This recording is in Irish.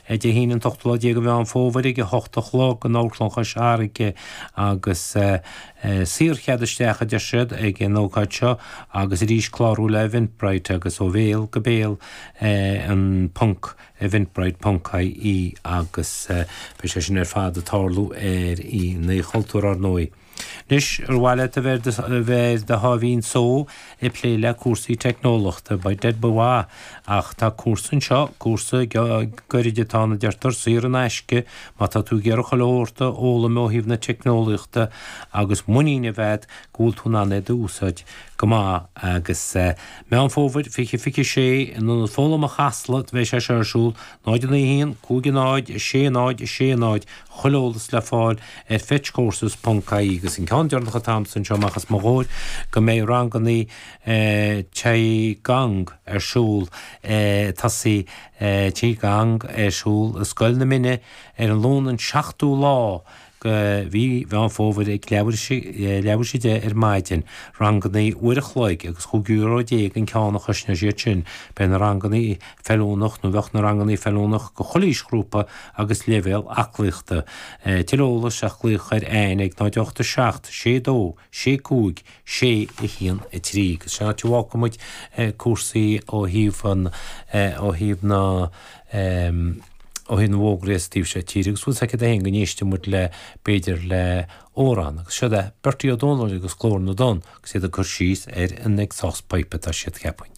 Dé hAoine an t-ochtú lá déag de Mheán Fómhair ag a hocht a chlog in Amharclann Chois Fharraige agus saorchead isteach a deir siad ag an ócáid seo agus arís clárú le Eventbrite agus ó bhéal go béal an ponc Eventbrite ponc ie agus beidh sé sin ar fad ag tarlú ar Oíche an Chultúir ar ndóigh. Anois, ar mhaith leat a bheith ar do sháimhín só ag plé le cúrsaí teicneolaíochta? By dead ba mhaith, ach tá cúrsa anseo, cúrsa gairid atá ann a deirtear, saor in aisce, má tá tú ag iarraidh chuile shórt a fhoghlaim ó thaobh na teicneolaíochta agus muinín a bheith agat go bhfuil tú in ann é d'úsáid go maith. Agus Meán Fómhair 2026, in Ionad Foghlama Chasla a bheidh sé seo ar siúl, 0 9 1 5 0 6 0 6 0, Chuile eolas le fáil ar fetchcourses ponc ie agus an ceann deireanach atá agamsa anseo amach os mo chomhair go mbeidh rangannaí Qi Gong ar siúl tosaí Qi Gong ar siúl i Scoil na Mine ar an Luan an 7ú lá de mhí Mheán Fómhair ag leathuair théis a 10 ar maidin. Rangannaí uair a chloig agus €15 euro an ceann a chosnóidh siad sin. Beidh na rangannaí feiliúnach nó bheadh na rangannaí feiliúnach go chuile aoisghrúpa agus leibhéal aclaíochta. Tuilleadh eolais ach glaoch ar Anne ag 0 8 7 6 2 6 5 6 1 3. Agus sin áit a bhfágfaidh muid cúrsaí ó thaobh an, ó thaobh na, ó thaobh na bhfógraí as an taobh seo tíre agus bhfuil 's agat féin go n-éistfidh muid le, b'fhéidir le amhrán. Agus siod é Bertie Ó Dónaill agus Glór na dTonn agus iad ag cur síos ar an exhaust pipe atá siad cheapfainn.